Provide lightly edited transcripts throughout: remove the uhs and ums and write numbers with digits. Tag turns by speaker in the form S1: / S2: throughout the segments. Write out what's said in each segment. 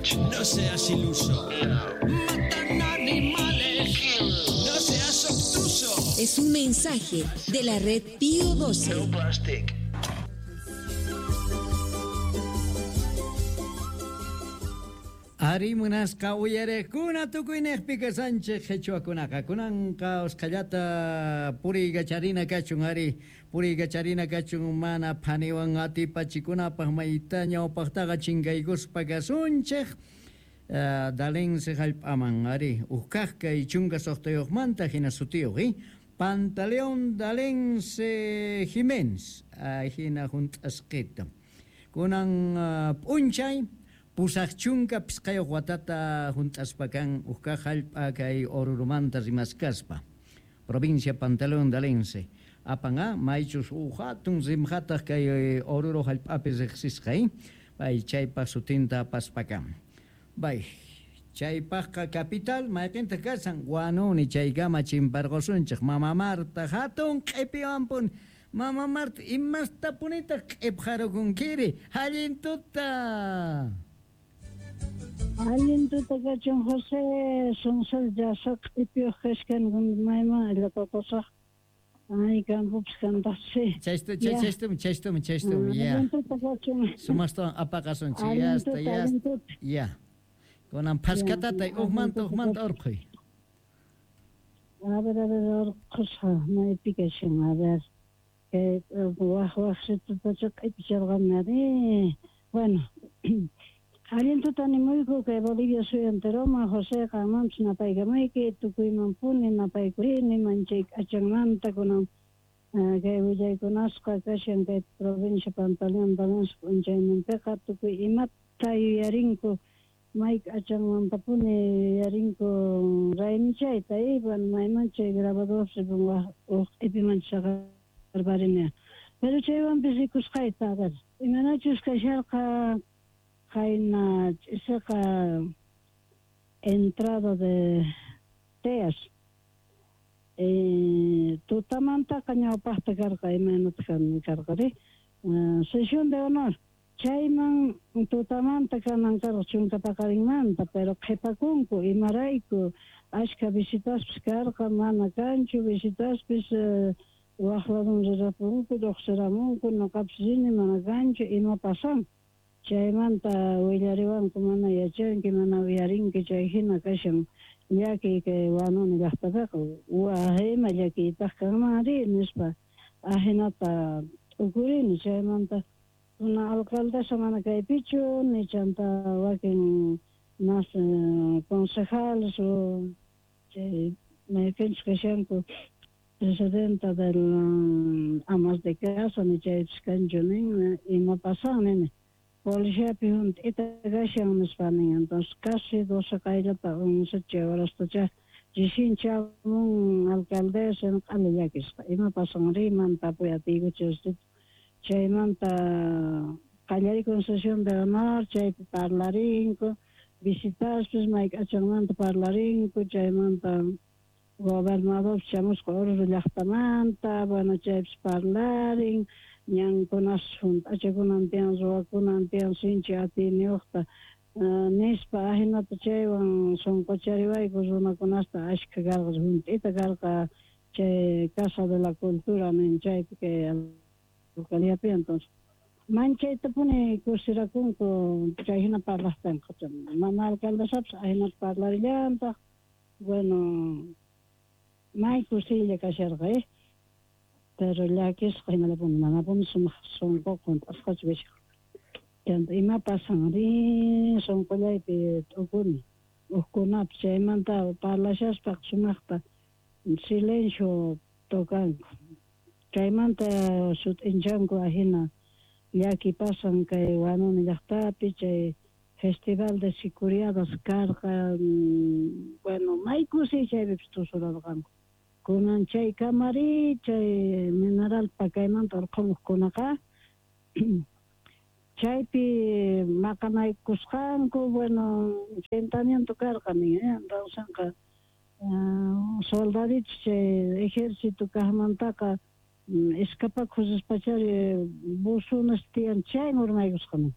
S1: No seas iluso. Matan animales. No seas obtuso.
S2: Es un mensaje de la red Pío 12.
S3: No plastic.
S4: Ari munasqa uyariqkuna tukuyniqpi kasanchik qhichwakunaqa kunanqa usqhallata puriykacharina kachun ari puriykacharina kachun mana phaniwan atipachikunapaq mayta ñawpaqtaqa chinkaykuspa kasunchik Dalense hallp'aman ari huk kaq kay chunka suqtayuqmanta hina sutiyuq Pantaleón Dalense Jiménez hina hunt'asqita kunan p'unchay pusaq chunka pisqayuq watata hunt'aspa kan huk kaq hallp'a kay Orurumanta rimaskaspa provincia Pantaleón Dalense apan maychus huk hatun rimqataq kay Oruro hallp'api riqsisqa pay chaypaq sutinta apaspa kan bay chaypaqqa capital mayqintaq kasan Huanuni chaykama chimparqusunchik Mama Marta hatun q'ipiwanpuni Mama Marta imastapunitaq q'ipqarukunkiri allin tuta.
S5: Allin tuta kachun José Sonsol llasa q'ipiyuq kashkani mayman allapapasaq ay campopis kantaqsi
S4: chaystumi chaystumi chaystumi ya
S5: allin tuta kachun
S4: sumaqtawan apaqasunchik
S5: allin
S4: yasta
S5: tuta
S4: yasta
S5: allin tuta
S4: ya kunan phaskatatay hukmanta hukmanta urqhuy
S5: a ver urqhusqa maypi kashan a ver kay waq waqsitutacha q'ipicharqani ari bueno allin tuta nimuyku kay Bolivia suyu enteroman José qanmanpis napaykamayki tukuymanpuni napaykurini manchay k'achanmanta kunan kay willaykunasqa kashan kay provincia Pantaleón Dalense p'unchayninpiqa tukuy imata yuyarinku may k'achanmantapuni yuyarinku raymichayta bueno mayman chay grabadorpi waq q'ipiman saqarparini pero chaywanpis rikusqayta a ver imanachus kasharqa qayna ch'isiqa entrada de Teas tutamantaqa ñawpaqta karqa imaynataq karqari sesión de honor chayman tutamanta kanan karqa chunka paqarinmanta pero qhipakunku imarayku ashka visitaspis karqa mana kanchu visitaspis waq ladun rirapunku lluqsiramunku ñuqapis rini mana kanchu ima pasan chaymanta willariwanku mana yachanki mana uyarinki chay hina kashan llakiy kay Huanuni llaqtapiqa waj ima llakiytaq kanman ri nispa ahinata t'ukurini chaymanta kuna alcaldesa mana kaypichu ni chanta wakin mas concejales o chay mayqinchus kashanku presidenta del amas de casa ni chaypis kanchu nin ima pasan nini policiapi hunt'ita kashan nispa nin entonces casi 12 qayllata 11 chay horastacha recién chamun alcaldesa q'ala llakisqa ima pasan riman tapuy atiykuchu chaymanta qallarikun sesión de honor chaypi parlarinku visitaspis may k'achanmanta parlarinku chaymanta gobernador chamusqa Oruro llaqtamanta bueno chaypis parlarin ñankunas hunt'achakunan tiyan ruwakunan tiyan sinchi atiyniyuqta nispa ahinata chaywan sunquchariwayku runakunasta ashkha karqa hunt'ita karqa chay Casa de la Cultura nin chaypi kay alcaldíapi entonces manchaytapuni kusirakunku chay hina parlaqtinqa mama alcaldesapis ahinata parlarillantaq bueno may kusiylla kasharqa pero llakisqa hinallapuni manapuni sumaq sunquqa hunt'asqachu kashan chanta ima pasan ri sunqullaypi t'ukuni hukkunapis chaymanta parlashaspa sumaqta silencio tocanku chaymanta sut'inchanku ahina llaki pasan kay Huanuni llaqtapi chay festival de sicuriadas karqa bueno may kusiy chaypipis tusurarqanku kunan chay kamari chay mineral pakaymanta urqhumuqkunaqa chaypi maqanaykusqanku bueno enfrentamiento karqa nin entonces soldaditos chay ejército kaqmantaqa escapakuq rispachari buzones tiyan chayman urmaykusqa nin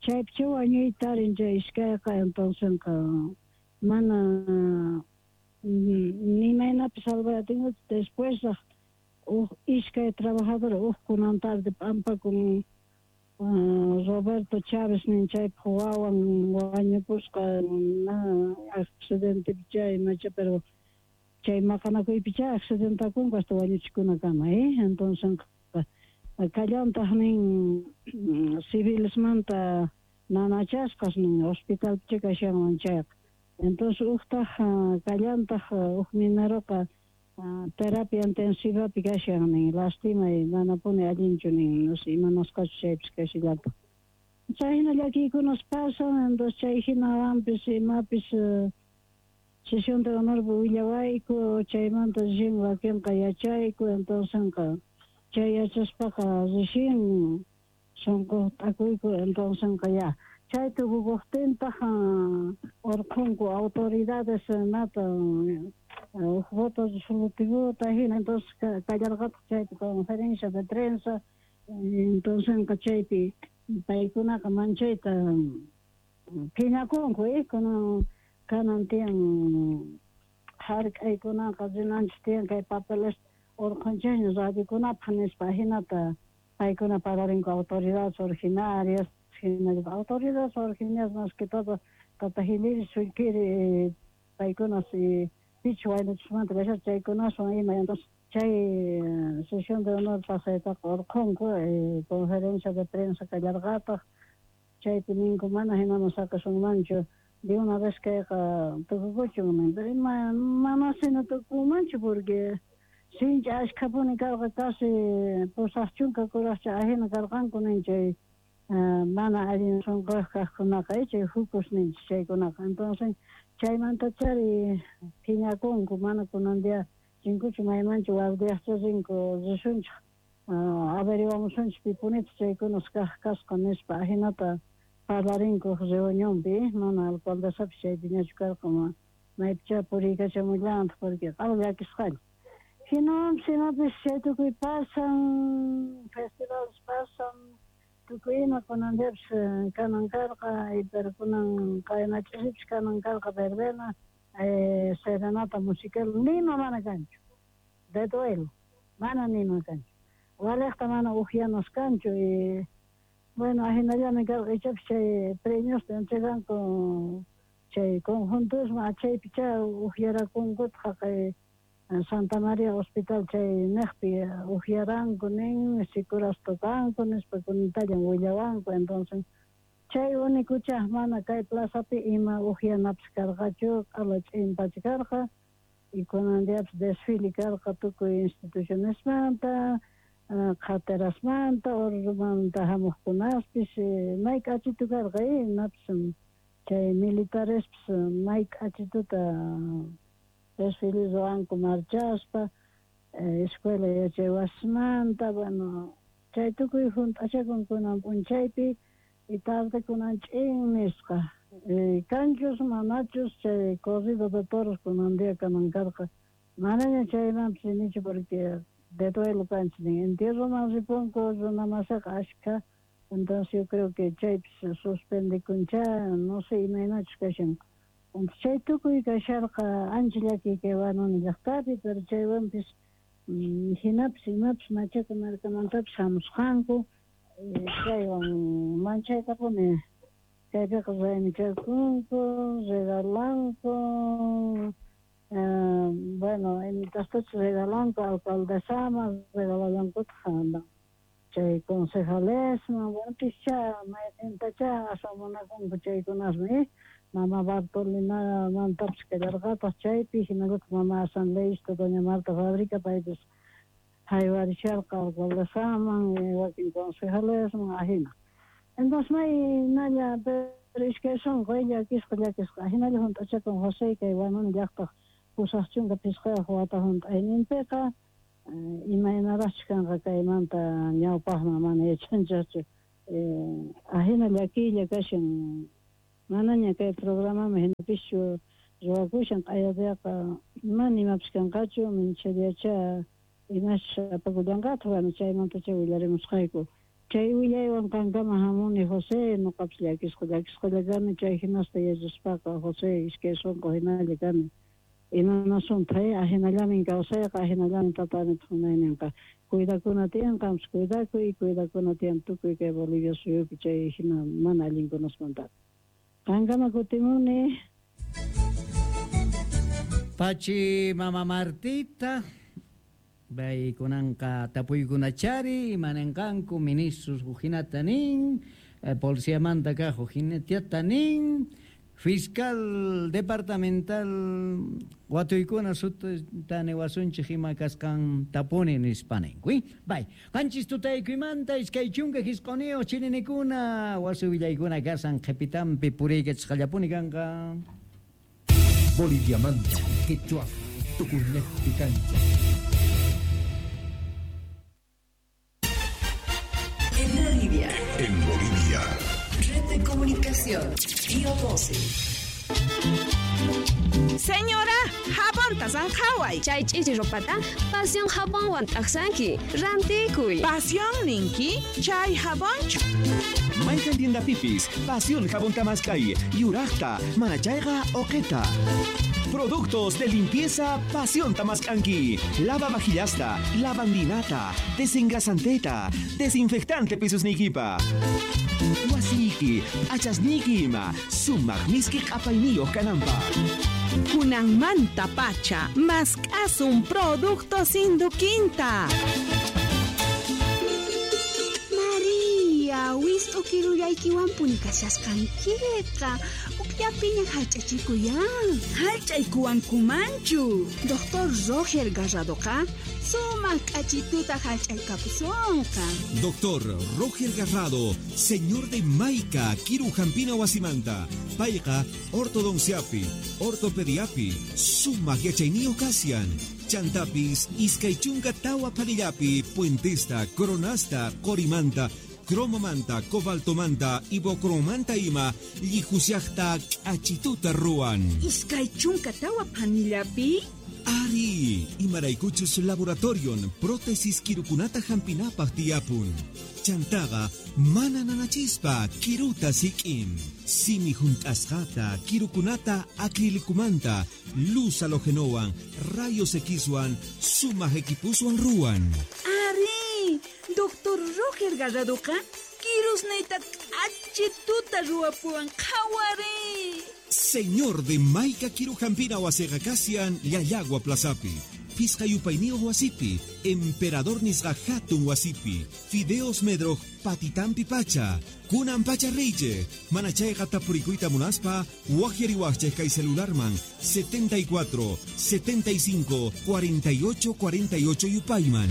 S5: Chaypicha wañuyta tarin chay iskayqa, entonces mana ni maynapi salvay atinkuchu. Después huk iskay trabajador huk kunan tarde p'ampakun Roberto Chávez nin chaypaq wawan wañupusqa accidentepi chay imacha, pero chay maqanakuypicha accidentakunku hasta wañuchikunakama, entonces kallantaq nin civilesmanta nanachasqas nin hospitalpicha kashanman chayqa. Entonces uktaq kallantaq huk mineroqa terapia intensivapi kashan nin, lastimay manapuni allinchu nin, no sé imanasqachu chaypis kashillataq. Chayhina llakiykunas pasan, entonces chayhinawanpis imapis sesión de honor willawayku, chaymanta recién wakinqa yachayku, entonces chay yachaspaqa recién sunqu t'akuyku, entonces ya chay tukukuqtintaq urqhunku autoridades mata huk voto resolutivo hina, entonces kallarqataq chaypi conferencia de prensa, entonces chaypi paykunaqa manchayta phiñakunku, kunan kanan tiyan hark'aykunaqa rinanchik tiyan kay papeles urqhunchikña radiokunapaq nispa, hinata paykuna parlarinku autoridades originarias, hinallataq autoridades originarias más que todo tata Jiliri Sullkiri paykunas pichu waynuchismanta kasharqa chaykunaswan ima, entonces chay sesión de honor pasaytaqa urqhunku, conferencia de prensa kallarqataq, chaypi ninku mana hinaman saqasunmanchu de una vez kayqa tukukuchun nin, pero ima mana hina tukunmanchu porque sinchi ashkhapuni karqa casi 80 kuraqcha ahina karqanku nin chay mana allin sunquyuq kaqkunaqa, chay jucus ninchik chaykunaqa, entonces chaymantachari phiñakunku mana kunan día rinkuchu maymanchu guardiaqcha rinku risunchik averiguamusunchik pipunitaq chaykunas kaq kasqa nispa, ahinata parlarinku reunionpi, mana alcaldesapis chaypiñachu karqa, maypicha puriykachamullantaq porque q'ala llakisqalla. Hinawanpis imapis chay tukuy pasan, festivales pasan, tukuy ima kunan diapis kanan karqa, pero kunan qayna ch'isipis kanan karqa verbena, serenata musical, nima mana kanchu, de duelo, mana nima kanchu. Waliqta mana ukyanas kanchu, y bueno, ahinallami karqa ichapis chay premiosta entreganku chay conjuntosman, chaypicha ukyarakunkutaq haqay Santa María Hospital chay niqpi ukyaranku nin, sikuras tocanku nispa kunantallan willawanku, entonces chay únicocha mana kay plazapi ima ukyanapis karqachu, q'ala ch'inpacha karqa, y kunan diapis desfile karqa tukuy institucionesmanta, qhaterasmanta, Orurumanta hamuqkunaspis, may k'achitu karqa, imapis chay militarespis may k'achituta desfile ruwanku marchaspa, escuela yachay wasimanta, bueno, chay tukuy hunt'achakun kunan p'unchaypi, y tarde kunan ch'in nisqa. Kanchus manachus chay corrido de toros kunan día kanan karqa, manaña chaymanpis rinichu porque de duelo kanchis nin, entierroman ripunku runamasiqa ashkha, entonces yo creo que chaypis suspendikuncha, no sé imaynachus kashan. Entonces chay tukuy kasharqa ancha llakiy kay Huanuni llaqtapi, pero chaywanpis hinapis imapis Machaca markamantapis hamusqanku, chaywan manchaytapuni chaypiqa raymichakunku, regalanku, bueno, imatastachus regalanku alcaldesaman, regalallankutaq chay concejalesman, bueno, pischa mayqintacha aswan munakunku chaykunasmi, mama Bartolinamantapis kallarqataq chaypi, hinallataq mama asambleísta doña Marta Fabrica paypis haywarisharqa alcaldesaman, wakin concejalesman, ahina. Entonces maynalla pero iskay sunqu llakisqa llakisqa ahinalla hunt'achakun José kay Huanuni llaqtaq 85 wata hunt'ayninpiqa, imaynaraqchus kanqa kaymanta ñawpaqman mana yachanchikchu, ahina llakiylla kashan, manaña kay programaman hinapischu ruwakushan, q'ayadiaqa mana imapis kanqachu, minchadiacha imachus apakullanqataq, bueno, chaymantacha willarimusqayku. Chay willaywan qankama hamuni José, nuqapis llakisqa llakisqalla kani chay hinasta yachaspaqa José iskay sunqu hinalla kani. Imanasuntaq ahinallamin kawsayqa, ahinallamin tata Amitaq munayninqa. Cuidakuna tiyan, qampis cuidakuy, cuidakuna tiyan tukuy kay Bolivia suyupi chay hina mana allinkunasmantaqa. Qankama kutimuni.
S4: Pachi mama Martita, paykunanqa tapuykunachari imanenqanku ministros hukhinata nin, policiamanta kaq hukhinata nin, fiscal departamental watuykuna sutita niwasunchik ima kasqan tapuni nispa ninku. Bay, qanchis tutaykuymanta 29 chilinikuna wasi willaykuna kasan qhipitampi puriykachisqallapuni kanqa.
S3: Boliviamanta, Quechua, Tucumán, Cancha.
S2: En Bolivia.
S6: En Bolivia.
S2: Red de comunicación. Pío 12.
S7: Señora, jabonta zanjaway.
S8: Chay ch'ichi ropata, pasión jabonwan t'aqsanki. Rantikuy.
S7: Pasión ninki, chay jabonchu.
S9: Mayqan tiendapipis, Pasión jabón tamaskay, yuraqta, manachayqa oqeta. Productos de limpieza Pasión Tamaskanki. Lava vajillasta, lavandinata, desengrasanteta, desinfectante pisusnikipa. Wasiki, achasniki ima, sumaq miski q'apayniyuq kananpaq.
S7: Kunanmanta pacha, mask'asun productos Induquinta.
S10: Maria, wist'u kirullaykiwanpuni kashasqankiqa. Ukllapiña hallch'achikuyan.
S7: Hallch'aykuwankumanchu.
S10: Doctor Roger Garradoqa sumaq k'achituta hallch'aykapusunqa.
S9: Doctor Roger Garrado, señor de Maica, Kiru Jampina Wasimanta, payqa ortodonciapi, ortopediapi, sumaq yachayniyuq kashan. Chantapis, iskay chunka tawa phanillapi, puentesta, coronasta, qorimanta, cromomanta, cobaltomanta, ibocromanta ima, llihusiaqta k'achituta ruwan.
S7: Iskay chunka tawa phanillapi?
S9: Ari, imaraykuchus laboratorion prótesis kirukunata hampinapaq tiyapun. Chantaqa mana nanachispa kiruta sik'in. Simi hunt'asqata kirukunata acrilicumanta, luz halogenowan, rayos Xwan, sumaq equipuswan ruwan.
S7: Ari, Doctor Roger Garradoqa kirusniyta k'achituta ruwapuwan qhawari.
S9: Señor de Maica Kirujampina wasiqa kashan Llallagua Plazapi, Pisqa yupayniyuq wasipi, Emperador nisqa hatun wasipi, Fideos Medroj patitampi pacha, kunan pacha riychik, mana chayqa tapurikuyta munaspa, waqyariwaqchik kay celularman 74 75 48 48 yupayman.